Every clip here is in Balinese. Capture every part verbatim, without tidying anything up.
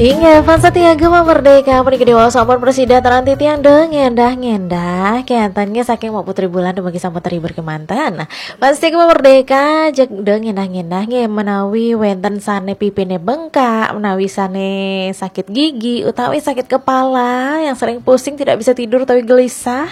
Inggih, fans setia Gema Merdeka, puniki diwaos sampun prasida taran titiang dong ngendah-ngendah. Kénten nggih saking Mbok Putri Bulan dumugi sampun terhibur kemanten. Fans setia Gema Merdeka, jeg dong ngendah-ngendah nggih menawi wénten sané pipiné bengkak, menawi sané sakit gigi, utawi sakit kepala yang sering pusing tidak bisa tidur utawi gelisah.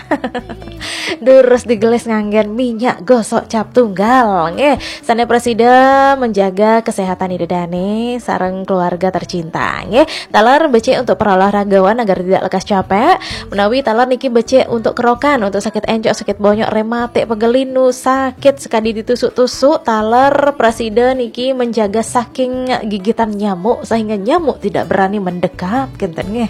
Durus digelis nganggén minyak gosok cap tunggal nggih. Sané prasida menjaga kesehatan ida dané sareng keluarga tercinta nggih. Taler becik untuk para olahragawan agar tidak lekas capek. Menawi taler niki becik untuk kerokan, untuk sakit encok, sakit bonyok, rematik, pegel linu, sakit sekadi ditusuk-tusuk, taler prasida niki menjaga saking gigitan nyamuk sehingga nyamuk tidak berani mendekat, kénten nggih.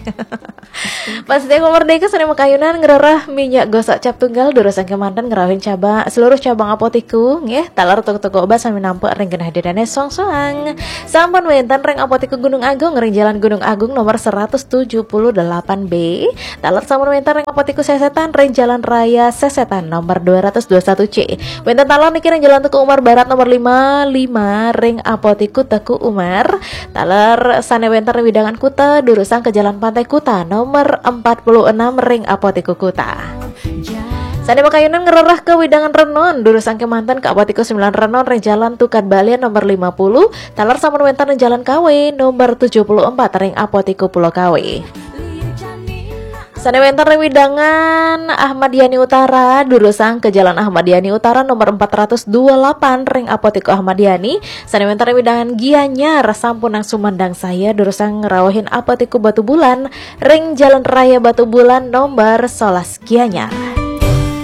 Fans setia Gema Merdeka sané makayunan ngrereh minyak gosok cap tunggal durusang kemanten ngrauhin cabang, seluruh cabang Apotiku nggih, taler toko-toko obat sami nampek ring genah ida dané soang-soang. Sampun wénten ring Apotiku Gunung Agung ring Jalan Gunung Agung nomor seratus tujuh puluh delapan B. Taler sampun wénten ring Apotiku Sesetan ring Jalan Raya Sesetan nomor dua ratus dua satu C. Wénten taler niki ring Jalan Teuku Umar Barat nomor lima lima ring Apotiku Teuku Umar. Taler sané wénten ring wewidangan Kuta durusang ke Jalan Pantai Kuta nomor empat puluh enam ring Apotiku Kuta. Sané makayunan ngrereh ke wewidangan Renon durusang kemanten ke Apotiku Sembilan Renon ring Jalan Tukad Balian nomor lima puluh. Taler sampun wénten ring Jalan Kawe nomor tujuh puluh empat ring Apotiku Pulau Kawe. Sané wénten ring wewidangan Ahmad Yani Utara durusang ke Jalan Ahmad Yani Utara nomor empat ratus dua puluh delapan ring Apotiku Ahmad Yani. Sané wénten ring wewidangan Gianyar sampun nang sumandang saya durusang ngrauhin Apotiku Batubulan ring Jalan Raya Batubulan nomor sebelas Gianyar.